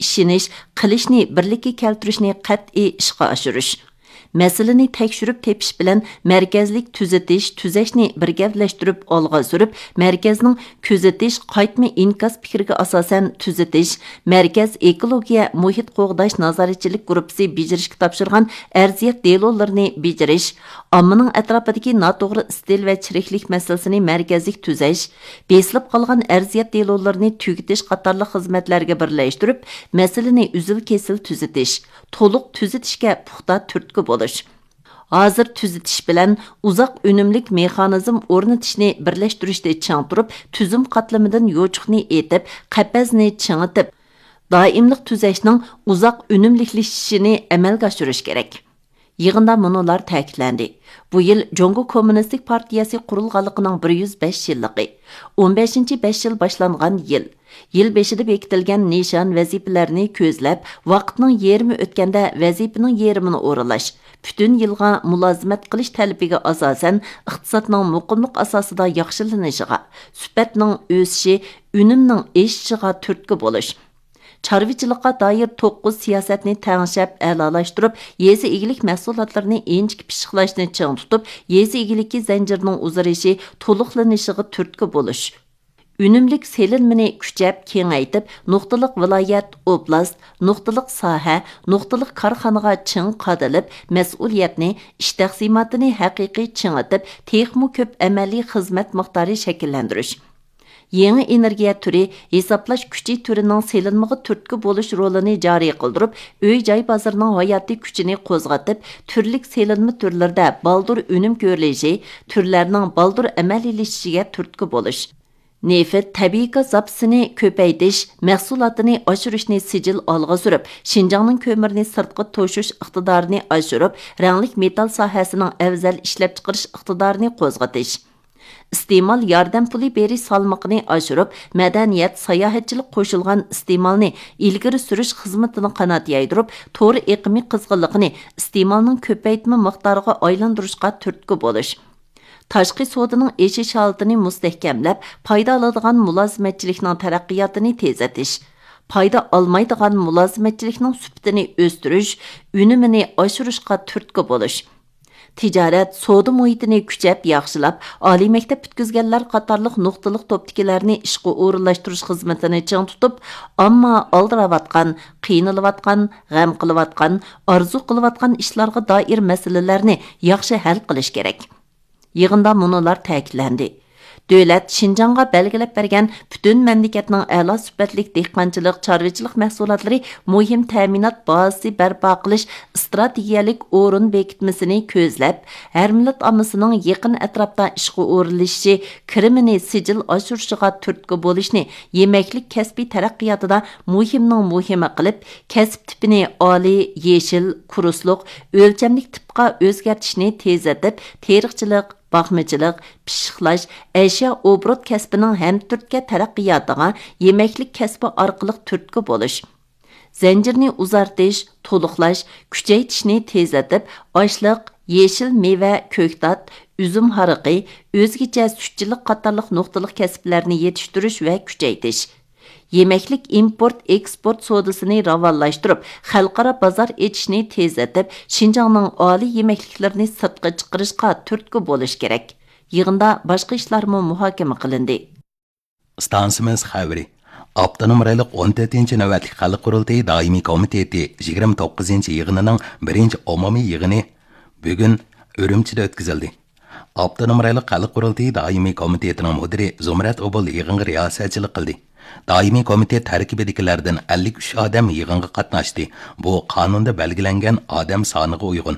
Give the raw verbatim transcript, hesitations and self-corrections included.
ئىشىنىش، قىلىشنى بىرلىككە كەلتۈرۈشنى قەتئىي ئىشقا ئاشۇرۇش. مەسىلىنى تەكشۈرۈپ تېپىش بىلەن مەركەزلىك تۈزىتىش، تۈزەشنى بىر گەۋدىلەشتۈرۈپ ئالغا سۈرۈپ، مەركەزنىڭ كۆزىتىش، قايتما ئىنكاس پىكرىگە ئاساسەن تۈزىتىش، مەركەز ئېكولوگىيە مۇھىت قوغداش نازارەتچىلىك گۇرۇپپىسى بېجىرىشكە تاپشۇرغان ئەرزىيەت دېلولىرىنى بېجىرىش، ئاممىنىڭ ئەتراپىدىكى ناتوغرا ئىستىل ۋە چىرىكلىك مەسىلىسىنى مەركەزلىك تۈزەش، بېسىلىپ قالغان ئەرزىيەت دېلولىرىنى تۈگىتىش قاتارلىق خىزمەتلەرگە بىرلەشتۈرۈپ، مەسىلىنى ئۈزۈل-كېسىل تۈزىتىش، تولۇق تۈزىتىشكە پۇختا تۈرتكە بولۇش. ھازىر تۈزىتىش بىلەن ئۇزاق ئۈنۈملۈك مېخانىزم ئورنىتىشنى بىرلەشتۈرۈشتە چىڭ تۇرۇپ، تۈزۈم قاتلىمىدىن يوچۇقنى ئېتىپ، قەپەسنى چىڭىتىپ، دائىملىق تۈزەشنىڭ ئۇزاق ئۈنۈملۈكلىشىشىنى ئەمەلگە ئاشۇرۇش كېرەك. يىغىندا مۇنۇلار تەكىتلەندى: بۇ يىل جۇڭگو كوممۇنىستىك پارتىيەسى قۇرۇلغانلىقىنىڭ بىر يۈز بەش يىللىقى، ئون بەشىنچى بەش يىل باشلانغان يىل، يىل بېشىدا بېكىتىلگەن نىشان، ۋەزىپىلەرنى كۆزلەپ، ۋاقىتنىڭ يېرىمى ئۆتكەندە ۋەزىپىنىڭ يېرىمىنى ئورۇنلاش، پۈتۈن يىلغا مۇلازىمەت قىلىش تەلىپىگە ئاساسەن، ئىقتىسادنىڭ مۇقىملىق ئاساسىدا ياخشىلىنىشىغا، سۈپەتنىڭ ئۆسۈشى، ئۈنۈمنىڭ ئېشىشىغا تۈرتكە بولۇش، چارۋىچىلىققا دائىر توققۇز سىياسەتنى تەڭشەپ ئەلالاشتۇرۇپ، يېزا ئىگىلىك مەھسۇلاتلىرىنى ئىنچىكە پىششىقلاشنى چىڭ تۇتۇپ، يېزا ئىگىلىكى زەنجىرىنىڭ ئۇزىرىشى، تولۇقلىنىشىغا تۈرتكە بولۇش، ئۈنۈملۈك سېلىنمىنى كۈچەپ كېڭەيتىپ، نۇقتىلىق ۋىلايەت، ئوبلاست، نۇقتىلىق ساھە، نۇقتىلىق كارخانىغا چىڭ قادىلىپ، مەسئۇلىيەتنى، ئىش تەقسىماتىنى ھەقىقىي چىڭىتىپ، تېخىمۇ كۆپ ئەمەلىي خىزمەت مىقدارى شەكىللەندۈرۈش. يېڭى ئېنېرگىيە تۈرى، ھېسابلاش كۈچى تۈرىنىڭ سېلىنمىغا تۈرتكە بولۇش رولىنى جارى قىلدۇرۇپ، ئۆي-جاي بازىرىنىڭ ھاياتىي كۈچىنى قوزغىتىپ، تۈرلۈك سېلىنما تۈرلىرىدە بالدۇر ئۈنۈم كۆرۈلۈشى، تۈرلەرنىڭ بالدۇر ئەمەلىيلىشىشىگە تۈرتكە بولۇش. نېفىت، تەبىئىي گاز زاپىسىنى كۆپەيتىش، مەھسۇلاتىنى ئاشۇرۇشنى سىجىل ئالغا سۈرۈپ، شىنجاڭنىڭ كۆمۈرنى سىرتقا توشۇش ئىقتىدارىنى ئاشۇرۇپ، رەڭلىك مېتال ساھەسىنىڭ ئەۋزەل ئىشلەپچىقىرىش ئىقتىدارىنى قوزغىتىش. ئىستېمال ياردەم پۇلى بېرىش سالمىقىنى ئاشۇرۇپ، مەدەنىيەت، ساياھەتچىلىك قوشۇلغان ئىستېمالنى ئىلگىرى سۈرۈش خىزمىتىنى قانات يايدۇرۇپ، تور ئېقىمى قىزغىنلىقىنى ئىستېمالنىڭ كۆپەيتمە مىقدارىغا ئايلاندۇرۇشقا تۈرتكە بولۇش. تاشقى سودىنىڭ ئېشىش ھالىتىنى مۇستەھكەملەپ، پايدا ئالىدىغان مۇلازىمەتچىلىكنىڭ تەرەققىياتىنى تېزلىتىش، پايدا ئالمايدىغان مۇلازىمەتچىلىكنىڭ سۈپىتىنى ئۆستۈرۈش، ئۈنۈمىنى ئاشۇرۇشقا تۈرتكە بولۇش. تىجارەت، سودا مۇھىتىنى كۈچەپ ياخشىلاپ، ئالىي مەكتەپ پۈتكۈزگەنلەر قاتارلىق نۇقتىلىق توپتىكىلەرنى ئىشقا ئورۇنلاشتۇرۇش خىزمىتىنى چىڭ تۇتۇپ، ئامما ئالدىراۋاتقان، قىينىلىۋاتقان، غەم قىلىۋاتقان، ئارزۇ قىلىۋاتقان ئىشلارغا دائىر مەسىلىلەرنى ياخشى ھەل قىلىش كېرەك. يىغىندا مۇنۇلار تەكىتلەندى: دۆلەت شىنجاڭغا بەلگىلەپ بەرگەن پۈتۈن مەملىكەتنىڭ ئەلا سۈپەتلىك دېھقانچىلىق، چارۋىچىلىق مەھسۇلاتلىرى مۇھىم تەمىنات بازىسى بەرپا قىلىش ئىستراتېگىيەلىك ئورۇن بېكىتمىسىنى كۆزلەپ، ھەر مىللەت ئاممىسىنىڭ يېقىن ئەتراپتا ئىشقا ئورۇنلىشىشى، كىرىمىنى سىجىل ئاشۇرۇشىغا تۈرتكە بولۇشنى يېمەكلىك كەسپى تەرەققىياتىدا مۇھىمنىڭ مۇھىمى قىلىپ، كەسىپ تىپىنى ئالىي، يېشىل، كۇرسلۇق، ئۆلچەملىك تىپقا ئۆزگەرتىشنى تېزلىتىپ، تېرىقچىلىق، باقمىچىلىق، پىششىقلاش، ئەشيا ئوبوروت كەسپىنىڭ ھەمتۈرتكە تەرەققىياتىغا يېمەكلىك كەسپى ئارقىلىق تۈرتكە بولۇش، زەنجىرنى ئۇزارتىش، تولۇقلاش، كۈچەيتىشنى تېزلىتىپ، ئاشلىق، يېشىل مېۋە، كۆكتات، ئۈزۈم ھارىقى، ئۆزگىچە سۈتچىلىك قاتارلىق نۇقتىلىق كەسىپلەرنى يېتىشتۈرۈش ۋە كۈچەيتىش، يېمەكلىك ئىمپورت، ئېكسپورت سودىسىنى راۋانلاشتۇرۇپ، خەلقئارا بازار ئېچىشنى تېزلىتىپ، شىنجاڭنىڭ ئالىي يېمەكلىكلىرىنى سىرتقا چىقىرىشقا تۈرتكە بولۇش كېرەك. يىغىندا باشقا ئىشلارمۇ مۇھاكىمە قىلىندى. ئىستانسىمىز خەۋىرى. ئاپتونوم رايونلۇق ئون تۆتىنچى نۆۋەتلىك خەلق قۇرۇلتىيى دائىمىي كومىتېتى يىگىرمە توققۇزىنچى يىغىنىنىڭ بىرىنچى ئومۇمىي يىغىنى بۈگۈن ئۈرۈمچىدە ئۆتكۈزۈلدى. ئاپتونوم رايونلۇق خەلق قۇرۇلتىيى دائىمىي كومىتېتىنىڭ مۇدىرى زۇمرەت ئوبۇل يىغىنغا رىياسەتچىلىك قىلدى. دائىمىي كومىتېت تەركىبىدىكىلەردىن ئەللىك ئۈچ ئادەم يىغىنغا قاتناشتى. بۇ قانۇندا بەلگىلەنگەن ئادەم سانىغا ئۇيغۇن.